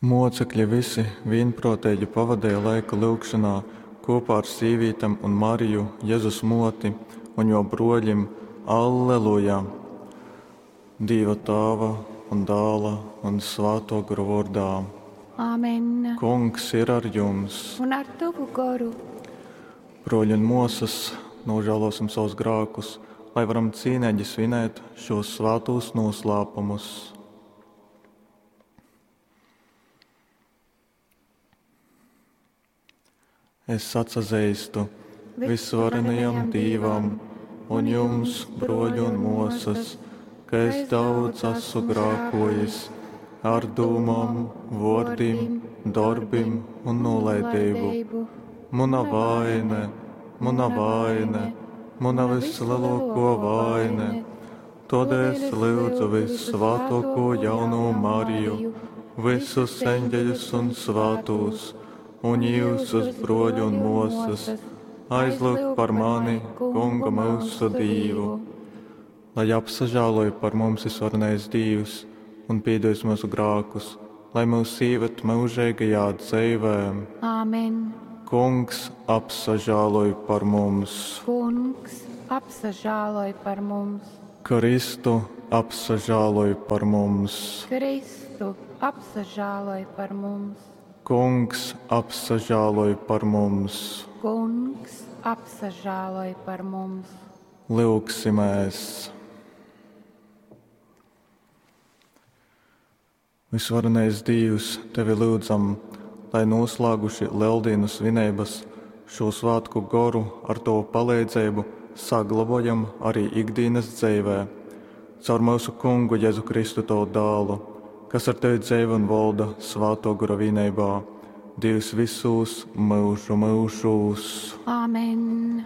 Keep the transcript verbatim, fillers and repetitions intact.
Mocekļi visi vīnprōteigi pavadeja laiku lyugšonā kūpā ar sīvītem un Mariju, Jezus mōti, un jō brōļim. Alleluja! Dīva Tāva un Dāla un Svātō Gora vōrdā. Āmen. Kungs ir ar jums. Un ar tavu goru. Brōļi un mōsas, nožēlosim savus grākus, lai varam cīneigi svinēt šos svātūs noslēpumus. Es atsazeistu visvarenajam Dīvam un jums, broļi un mosas, ka es daudz esmu grākojis ar dūmām, vōrdim, dorbim un nolaidību. Muna vaine, muna vaine, muna vislielāko vaine. Todēļ es lūdzu vissvētāko jauno Mariju, visus eņģeļus un svētos, un jūsus, broļi un mosas, aizlūgt par mani, Kunga mūsu Dīvu. Lai apsažēloja par mums visvarenais Dievs un piedos mūsu grākus, lai mūs ieved mūžīgajā dzīvē. Āmen. Kungs apsažēloj par mums. Kungs apsažēloj par mums. Kristu apsažēloj par mums. Kristu apsažēloj par mums. Kungs apsažēloj par mums. Kungs apsažēloj par mums. Lūgsimies! Visvarenais Dievs, Tevi lūdzam, lai noslēguši Lieldienu svinības šo svētku goru ar Tavu palīdzību saglabājam arī ikdienas dzīvē. Caur mūsu Kungu Jēzu Kristu Tavu dēlu, kas ar Tevi dzīvo un valda Svēto Gora vienībā, Dievs visos mūžu mūžos. Āmen.